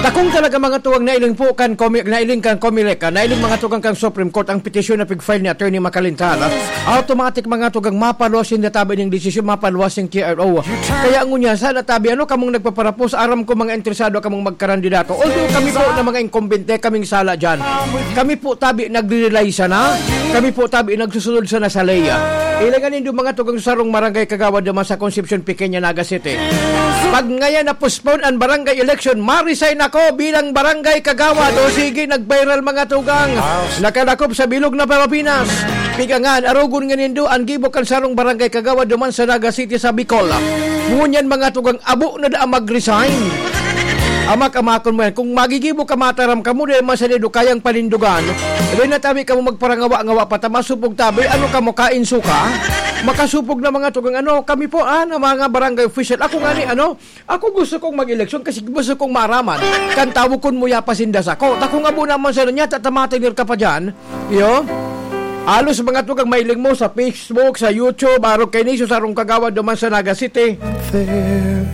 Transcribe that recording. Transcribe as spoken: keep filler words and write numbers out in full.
Takong talaga, mga tugang, nailing po kan Comi-, nailing kan Comelec, ah, nailing, mga tugang, kan Supreme Court ang petisyon na pig-file ni Attorney Macalintal, ah, automatic, mga tugang, mapaluwas yung natabi ning desisyon, mapaluwas yung T R O. Kaya ngunyan, sa natabi, ano kamong nagpaparapos, aram ko mga interesado kamong magkarandidato. Although kami po na mga incumbente, kaming sala dyan. Kami po tabi nagre-rely sana. Kami po tabi nagsusunod sana sa ley. Ilangan nindo, mga tugang, sarong barangay kagawad naman sa Concepcion Pequeña, Naga City. Pag ngayon na-postpone ang barangay election, ma-resign ako bilang barangay kagawad. O sige, nag-viral, mga tugang. Nakalakop sa bilog na Pilipinas. Pigangan, arogon nga nindo, ang gibo kan sarong barangay kagawad duman sa Naga City sa Bicol. Ngunyan, mga tugang, abo na daa mag-resign. Amak-amakon mo yan. Kung magigibo ka, mataram ka mo, dahil man sa nindo kayang panindugan, dahil natabi ka mo magparangawa-ngawa pa, ta masupog tabi, ano ka mo, kain suka? Makasupog na, mga tugang, ano, kami po, ah, na mga barangay official. Ako nga ni, ano, ako gusto kong mag-eleksyon kasi gusto kong maaraman. Kan tawo kun mo yapasindas ako. Takong abo naman sa niya, tatamatinir ka pa dyan. Iyo? Alos, mga tugang, mailing mo sa Facebook, sa YouTube, arog kay Niso, sarong kagawad duman sa Naga City. There